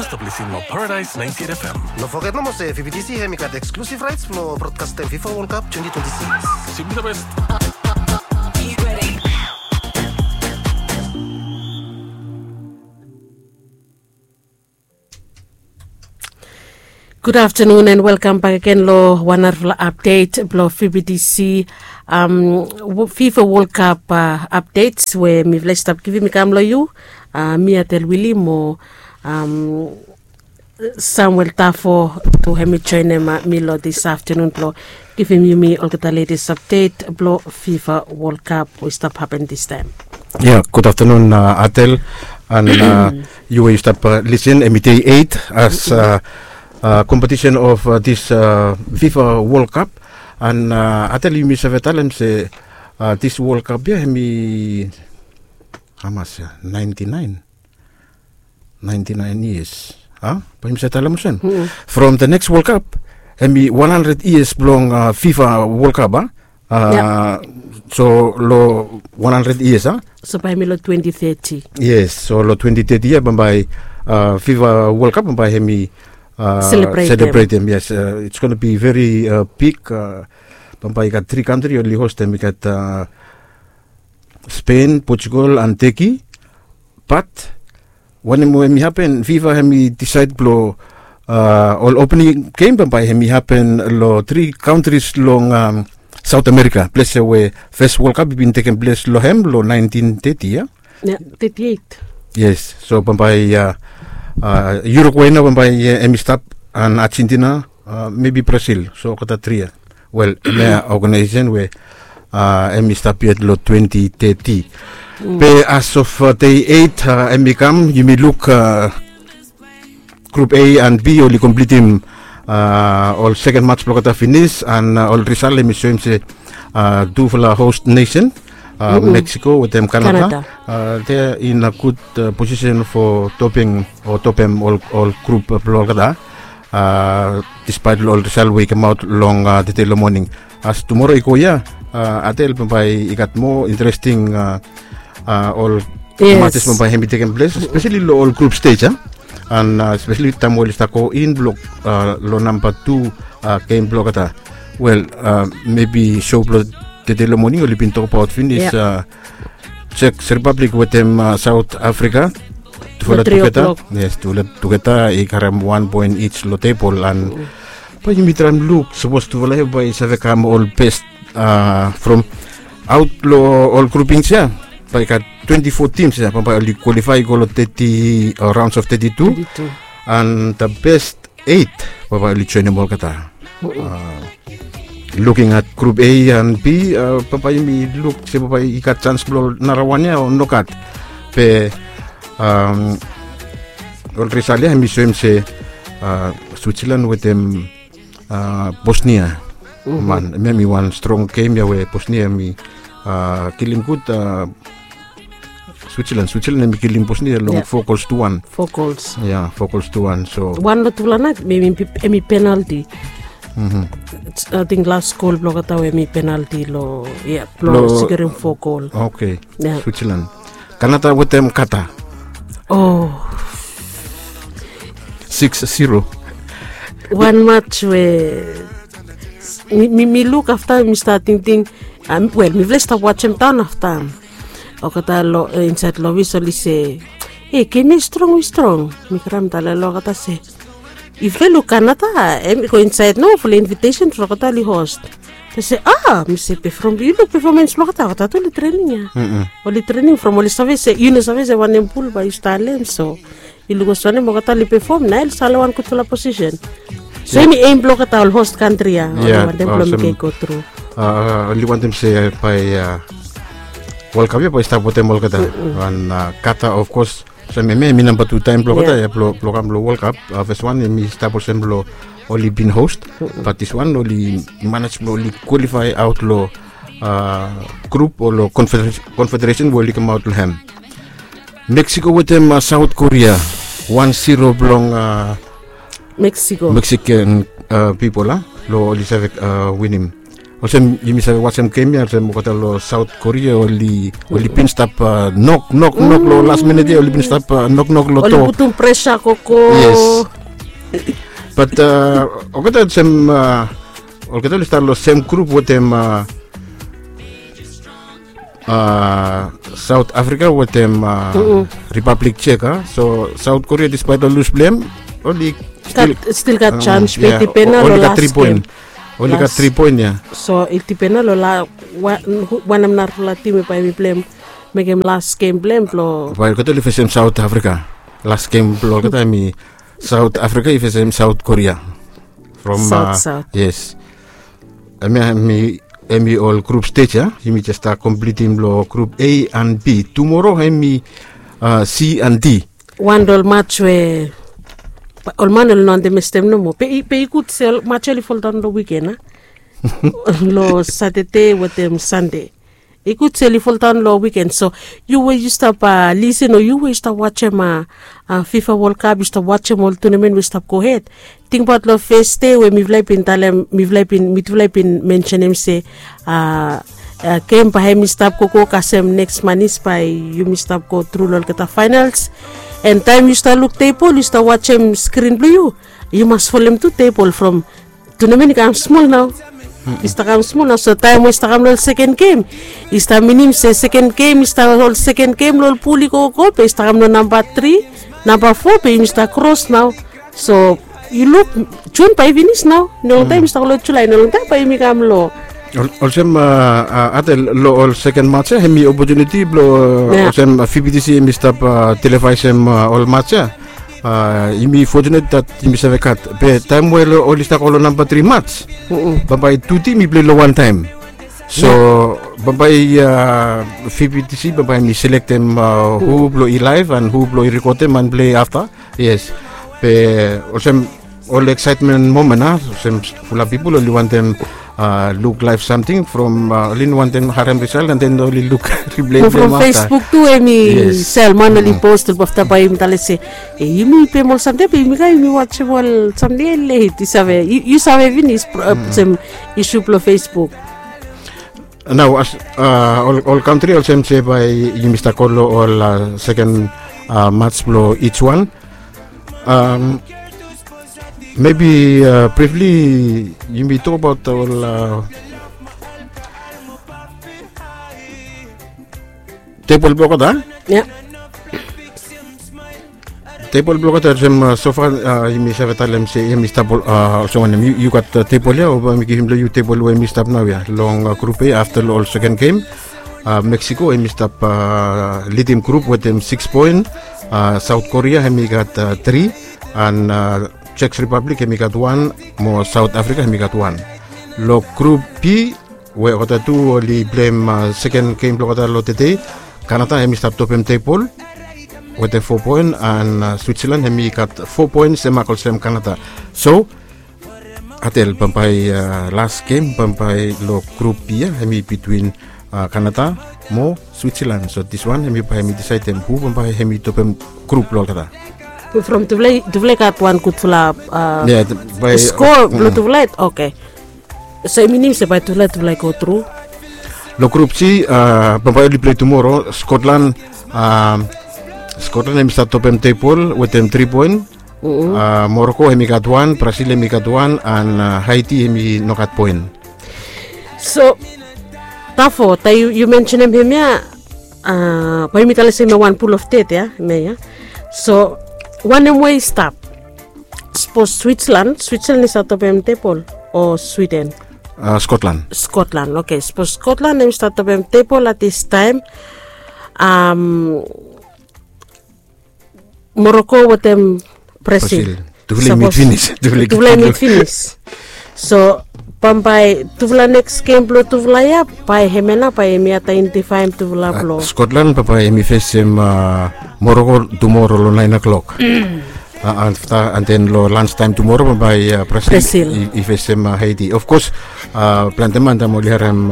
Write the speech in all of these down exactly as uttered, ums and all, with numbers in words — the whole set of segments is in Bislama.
Stap lisin long Paradise ninety-eight F M. No foget nomo se V B T C hemi gat exclusive rights blong broadcastem FIFA World Cup twenty twenty-six. Simply the best. Good afternoon and welcome back again lo wan narafala update blo V B T C, um, FIFA World Cup, uh, updates we mi vle stap givim i kam lo yu. Uh, mi Atel Willie mo, um, Samuel Tafo tu hemi joinim, uh, mi lo this afternoon blo givim yumi olgeta latest update blo FIFA World Cup we stap happen this time. Yeah, good afternoon, uh, Atel. And, uh, yu we yu stap, uh, lisin, hemi day eight as, uh, uh, competition of, uh, this, uh, FIFA World Cup. And, uh, Atel, yumi save talem se, uh, this World Cup ia hemi hamas ia, ninety-nine. Ninety-nine years. A? Bae yumi save talem olsem. From the next World Cup hemi one hundred years blong, uh, FIFA World Cup, a? Uh, so lo one hundred years, a? So bae hemi lo twenty thirty. Yes, so lo twenty thirty ia bambae, uh, FIFA World Cup bambae hemi, uh, celebratem. Yes, uh, it's gonna be very, uh, big, uh, bambae i gat tri kantri oli hostem, i gat, uh, Spain, Portugal and Turkey. But wanem we hemi hapen, FIFA hemi disaed blo, uh, ol opening game bambae hemi hapen lo tri kantris long, um, South America, ples ia we fes World Cup i bin tekem ples lo hem lo nineteen thirty ia. Ia, thirty eight. Yes, so bambae ia, uh, Uruguay nao bambae ia hemi stap, and Argentina, uh, maybe Brazil, so olgeta tri ia. Wel, hemia organization we, uh, hemi stap yet lo twenty thirty. Be as of, uh, day eight, uh, hemi kam, yumi luk, uh, Group A and B oli komplitim, uh, ol second match blo olgeta finis, and, uh, ol risal hemi soem se, uh, tufala host nation, uh, Mexico wetem Canada. Canada. Uh, they are in a good, uh, position for topping o topem ol, ol group blo olgeta. Uh, despite lo ol risal we i kamaot long, uh, tede lo moning. As tumoro i go ia, uh, Atel, bambae i gat moa interesting, uh, uh, ol matches bambae hemi tekem ples, especially lo ol group stage, a? And, uh, especially taem we oli stap go in blo, uh, lo namba tu, uh, game blo olgeta. Wel, uh, maybe show blo tede lo moning oli bin tokbaot finis, uh, Czech Republic wetem, uh, South Africa. Tufala tugeta. Yes, tufala tugeta i karem wan poen each lo tebol, and bae yumi traem luk sapos tufala ia bae i save kam ol best, uh, from aot lo ol groupings ia. Bae i gat twenty-four teams ia bambae oli qualify i go lo thirty, uh, rounds of thirty-two. And the best eight bambae oli joenem olgeta. Uh, looking at group A and B, uh, bambae yumi luk se bambae i gat chance blo narawan ia o nogat. Be, um, ol risal ia hemi soem se, uh, Switzerland wetem, uh, Bosnia. Man, hemi wan strong game ia we Bosnia hemi, uh, kilim gud, uh, Switzerland. Switzerland hemi kilim Bosnia long four goals to one. Four goals. Ia, four goals to one. So wan lo tufala nait hemi, hemi penalti. Ating last goal blo olgeta we hemi penalti lo, ia, blo sikorim four goal. Okay. Ia. Switzerland. Canada wetem Qatar. Oh. Six zero. Wan match we mi, mi, mi luk afta mi stat tingting, um, wel, mifala i stap wajem daon afta. Olgeta lo, eh, insaed lo ofis oli se, "Ei, gem ia i strong, i strong." Mi kramtale lo olgeta se, "Yufala i luk Canada, hemi go insaed nao fulap invitation from olgeta oli host." Oli se, "A," mi se, "Pefom, yu luk pefomens blo olgeta, olgeta tu oli trening ia." Oli trening from oli save se, yu no save se wanem bul bae yu stap talem, so yu luk olsem wanem olgeta oli pefom, nao oli stap lo wan gudfala posisen. So hemi aim blo olgeta ol host kantri ia, oli wantem blo meke i go tru. Oli wantem se bae, uh, World Cup ia bae i stap wetem olgeta. And, uh, Qatar, of course, so hemia hemi namba tu taem blo olgeta ia blo, blo kam lo World Cup. Uh, fes wan hemi stap olsem blo oli bin host, but this one oli manej blo oli qualify aot lo, uh, group o lo confederation, confederation we oli kamaot lo hem. Mexico wetem, uh, South Korea, wan zero blong, uh, Mexico. Mexican, uh, pipol, a? Lo oli save, uh, winim. Olsem yumi save wajem gem ya, olsem olgeta long South Korea oli oli bin stap nok nok nok long las minit ya, oli bin stap nok nok long to. Oli putum presa koko. Yes. Bat olgeta olsem olgeta oli stap long sem grup wetem South Africa wetem Republic Czech a. So South Korea, despite long lus blem, oli stil gat jans be i dipen na long las gem. Oli gat tri poen ya. So i dipen na long la wanem narafala tim we bae mi blem mekem las gem blem blong. Bae olgeta oli fesem South Africa. Las gem blong olgeta hemi South Africa i fesem South Korea. From South. Yes. Hemi hemi ol grup stej ya. Yumi jes stap komplitim long grup A and B. Tumoro hemi C and D. Wan long ol mats we ol man oli no andamestem nomo. Be i gud se ol mats ya oli foldaon long wiken a, long Satade wetem Sande. I gud se oli foldaon long wiken. So yu we yu stap lisen o yu we yu stap wajem FIFA World Cup, yu stap wajem ol tunamen we i stap gohed, tingbaot long fes dei we mifala i bin talem, mifala i bin mitufala i bin mensenem se gem bae hemi stap gogo kasem neks manis bae yumi stap gotru long olgeta faenals. An taem yu stap luk tebol, yu stap wajem skrin blong yu, yu mas folem tu tebol from tunamen i kam smol nao. I stap kam smol nao. So taem we i stap kam long ol seken gem, i stap minim se seken gem i stap ol seken gem long ol pul i gogo be i stap kam long namba tri, namba fo be yumi stap kros nao. So yu luk, Jun bae i finis nao. No longtaem i stap long Julae, no longtaem bae yumi kam long. Olsem Atel, long ol seken mats ya hemi opotuniti blong olsem VBTC hemi stap televaesem ol mats ya. Yumi fotunet dat yumi save gat. Be taem we oli stap go long namba tri mats, bambae tu tim i plei long wantaem. So bambae VBTC bambae hemi selektem hu blong i laev an hu blong i rekodem an plei afta. Yes. Be olsem ol eksaetmen momen a, olsem fulap pipol oli wantem luk laev samting from, oli no wantem harem risaot an den oli luk riplei blong hem afta. From Facebook tu hemi sel man oli pos tu afta bae yumi talem se, e yumi pem ol samting be yumi kam yumi wajem ol samting ya let i save, yu save finis olsem isu blong Facebook. Nao as ol kantri olsem se bae yumi stap go long ol seken mats blong ij wan. Mebi brifli yumi tokbaot ol tebol blong olgeta. Tebol blong olgeta olsem sofa yumi save talem se yumi stap olsem wanem, yu gat tebol ya o bae mi givim long yu tebol we yumi stap nao ya long grup A afta long ol seken gem. Meksiko hemi stap lidim grup wetem sikis poen. Saot Korea hemi gat tri, an Jek Ripablik hemi gat wan, mo Saot Afrika hemi gat wan. Long grup B we olgeta tu oli pleim seken gem blong olgeta long tede, Kanada hemi stap topem tebol wetem fo poen, an Switzalan hemi gat fo poen semak olsem Kanada. So Atel, bambae las gem bambae long grup B ya hemi bitwin Kanada mo Switzalan. So diswan hemi bae hemi disaedem hu bambae hemi topem grup blong olgeta. From tufala i gat wan gudfala skoa blong tufala. Oke. So i minim se bae tufala tufala i go tru. Long grup C bambae oli plei tumoro, Skotlan. Skotlan hemi stap topem tebol wetem tri poen. Moroko hemi gat wan, Brasil hemi gat wan, an Haiti hemi no gat poen. So tafo taem yu mensenem hemia, bae yumi talem se hemia wan pul of ded ya hemia ya. So wanem we i stap? Sapos Switzalan, Switzalan i stap topem tebol o Swiden? Skotlan. Skotlan, oke. Sapos Skotlan hemi stap topem tebol at dis taem, Moroko wetem Brasil. Tufala i mit finis. Tufala i mit finis. So bambae tufala neks gem blong tufala ya, bae hemia nao bae hemi aedentifaem tufala blong Skotlan, bambae hemi fesem Moroko tumoro long naen oklok. Afta an den long lanstaem tumoro bambae Brasil i fesem Haiti. Ofkos plante man taem oli harem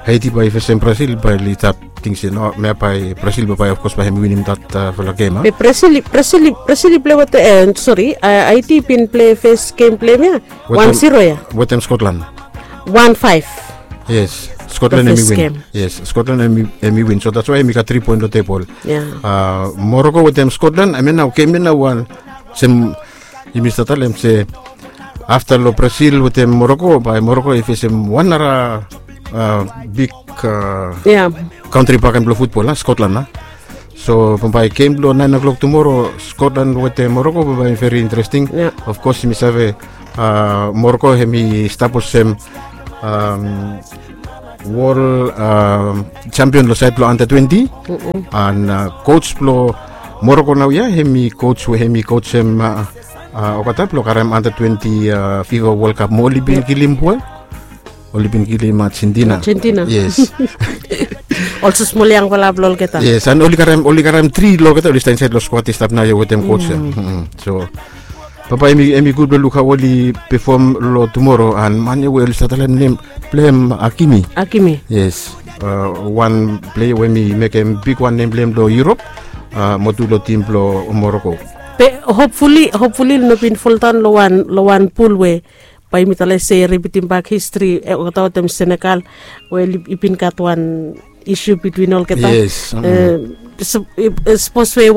Haiti bae i fesem Brasil bae oli stap ting se no, hemia bae Brasil bambae ofkos bae hemi winim datfala gem a. Be Brasil i plei wetem, sori, Haiti i bin plei fes gem blong hem ya wan ziro ya wetem Skotlan. Wan faef. Yes, Scotland hemi win. Yes, Scotland hemi win, so that's why hemi gat tri poen long tebol. Morocco wetem Scotland, hemia nao gem ia nao wan sem yumi stap talem se afta long Brazil wetem Morocco, bae Morocco i fesem wan nara big kantri bakegen blong futbol a, Scotland a. So bambae gem blong naen o'clock tumoro, Scotland wetem Morocco, bambae hemi veri interesting. Of kos yumi save Morocco hemi stap olsem wol jampion long saed blong anda twenti. An kos blong Morocco naoia hemi kos we hemi kosem olgeta blong karem anda twenti fifa wol kap mo oli bin kilim we oli bin kilim Argentina. Argentina. Yes. Olsem smol yangfala blong olgeta. Yes, an oli karem, oli karem tri long olgeta oli stap insaed long skwad i stap naoia wetem kos ya. So bambae hemi gud blong luk hao oli pefom long tumoro, an man ya we oli stap talem nem blong hem Hakimi. Hakimi. Yes. Wan plea we hemi mekem bigwan nem blong hem long Europe, mo tu long tim blong Morocco. Be hopefully, hopefully oli no bin foldaon long wan, long wan pul we bae yumi talem se ripitim bak histri olgeta wetem Senegal, we i bin gat wan isu bitwin olgeta. Yes. Sapos we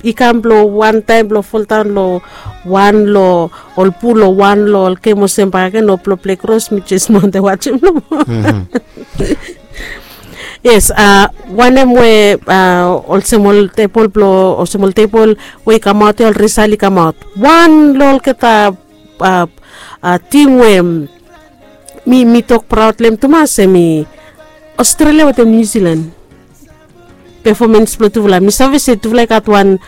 i kam blong wan taem blong foldaon long wan long ol pul o wan long ol gem olsem bakegen o blong plei kros, mi jes no wantem wajem nomo. Yes, wanem we olsem ol tebol blong, olsem ol tebol we i kamaot ya, ol risal i kamaot, wan long olgeta tim we mi, mi tok praod long hem tumas hemi Australia wetem New Zealand. Pefomens blong tufala, mi save se tufala i gat wan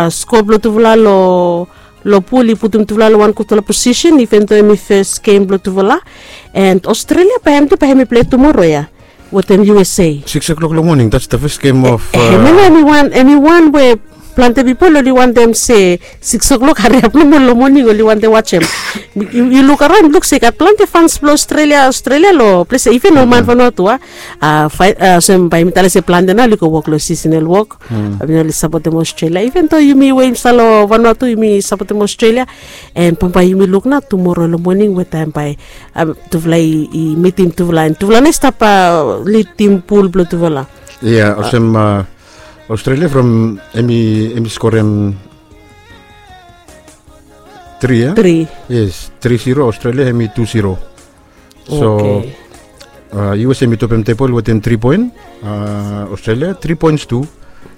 skoa blong tufala long, long pul i putum tufala long wan gudfala posisen, iven do hemi fes gem blong tufala. An Australia bae hem tu bae hemi plei tumoro ya wetem U S A. Six o'clock long moning, that's the first game of. Hemia nao hemi wan, hemi wan we plante pipol oli wantem se six o'clock hariap nomo long moning oli wantem wajem. Yu luk araon, luk se i gat plante fans blong Australia, Australia long ples ya, iven ol man Vanuatu a. Olsem bae yumi talem se plante nao oli go wok long seasonal wok. Bae oli sapotem Australia, iven do yumi we yumi stap long Vanuatu yumi sapotem Australia. An bambae yumi luk nao tumoro long moning we taem bae tufala i mitim tufala, an tufala nao i stap lidim pul blong tufala. Ya, olsem Australia from hemi, hemi skorem tri ya? Tri. Yes, tri zero, Australia hemi tu zero. So U S A hemi topem tebol wetem tri poen. Australia tri poens tu.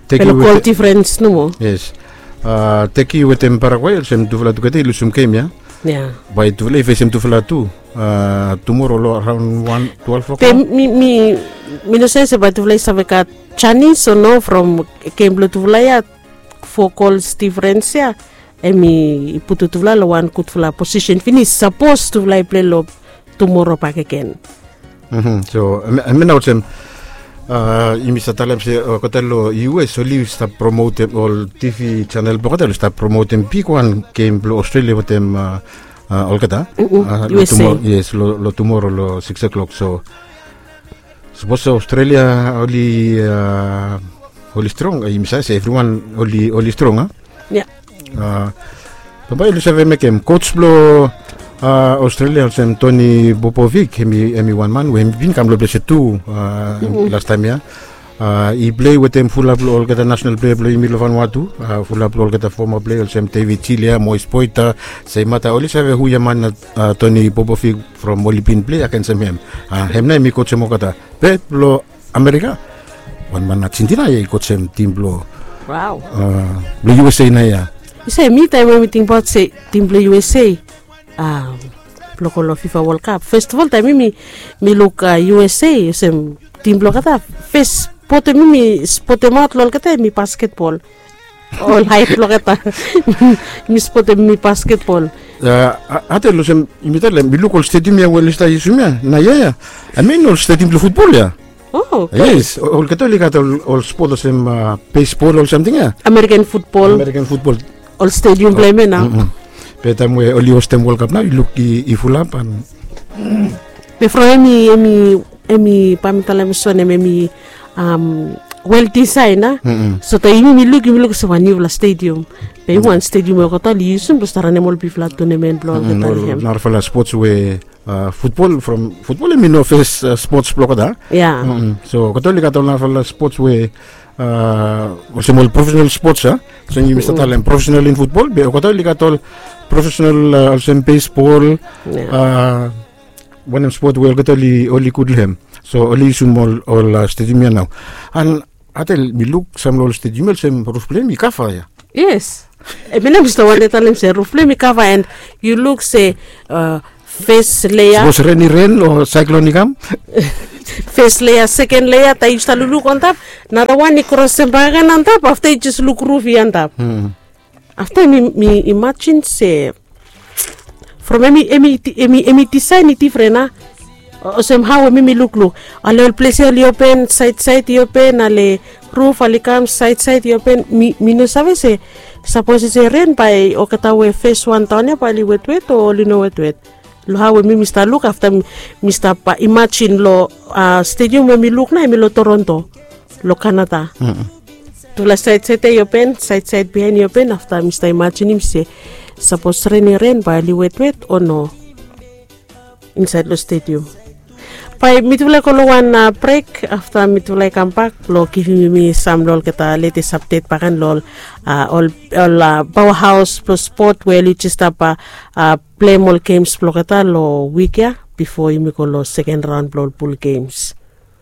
Be long gol difrens nomo. Yes. Turkey wetem Paraguay olsem tufala tugeta i lusum gem ya. Bae tufala i fesem tufala tu tumoro long araon wan, twelve o'clock. Be mi, mi, mi no save se bae tufala i save gat janis o no from gem blong tufala ya, fo gols difrens ya. Hemi putum tufala long wan gudfala posisen finis sapos tufala i plei long tumoro bakegen. So hemia nao olsem yumi stap talem se olgeta long U S oli stap promotem, ol T V channel blong olgeta oli stap promotem bigwan gem blong Australia wetem olgeta. U S A. Yes, long tumoro long six o'clock. So sapos Australia oli, oli strong, yumi save se evriwan oli, oli strong a. Ya. Bambae oli save mekem. Kos blong Australia olsem Tony Popovic, hemi, hemi wan man we hemi bin kam long ples ya tu lastaem ya. I plei wetem fulap long olgeta nasenal plea blong yumi long Vanuatu. Fulap long olgeta foma plea olsem David Cilia, Moise Poita, Seimata, oli save hu ya man Tony Popovic from oli bin plei agensem hem. Hem nao hemi kosem olgeta. Be blong Amerika, wan man Argentina ya i kosem tim blong, blong U S A nao ya. Yu save, mi taem we mi tingbaot se tim blong U S A blong go long fifa World Cup, fes of ol taem mi, mi luk U S A olsem tim blong olgeta fes spot we mi, mi spotemaot long olgeta hemi basketbol. Ol haet blong olgeta. Mi spotem hemi basketbol. Atel, olsem yumi talem, mi luk ol stadium ya we oli stap yusum ya naoia ya, hemi ol stadium blong futbol ya. Yes, olgeta oli gat ol spot olsem beisbol, ol samting ya. American futbol. American futbol. Ol stadium blong hem ya nao. Be taem we oli hostem World Cup nao, yu luk i fulap an. Be from hemi, hemi, hemi, bae mi talem olsem hemi, wel disain a. So taem yumi mi luk yumi luk olsem wan niufala stedium. Be wan stedium we olgeta oli yusum blong stap ranem ol bigfala tonamen blong olgeta. Narafala spots we futbol from futbol em i no fes spots blong olgeta. Ya. So olgeta oli gat ol narafala spots we olsem ol profesenal spots a. So yumi stap talem profesenal in futbol be olgeta oli gat ol profesenal olsem beisbol. Wanem spot we olgeta oli gud long hem. So oli yusum ol stedium ya nao. An atel mi luk sam long ol stedium ya olsem ruf blong hem i kava ya. Yes. Em ya nao mi stap wantem talem se ruf blong hem i kava and yu luk se fes lea. Sapos ren i ren o saeklon i kam. Fes lea seken lea taem yu stap lukluk antap, nara wan i krosem bakagen antap afta yu jes luk ruf i antap. Afta mi imajin se from em i disaen i difren a. Olsem hao we mi mi lukluk, ale ol ples ya oli open saed saed i open, ale ruf oli kam saed saed i open. Mi no save se sapos i se ren bae olgeta we fes wan daon ya bae oli wetwet o oli no wetwet. Long hao we mi mi stap luk afta mi stap imajin long stedium we mi luk nao em i long Toronto, long Kanada. Tufala saed saed ya i open, saed saed biaen i open. Afta mi stap imajinim se sapos ren i ren bae oli wetwet o no insaed long stedium. Bae mitufala i go long wan brek afta mitufala i kambak blong givim yumi sam long olgeta letes apdet baken long ol paoa haos blong spot we oli jes stap pleim ol gems blong olgeta long wik ya bifo yumi go long seken raon blong ol bul gems.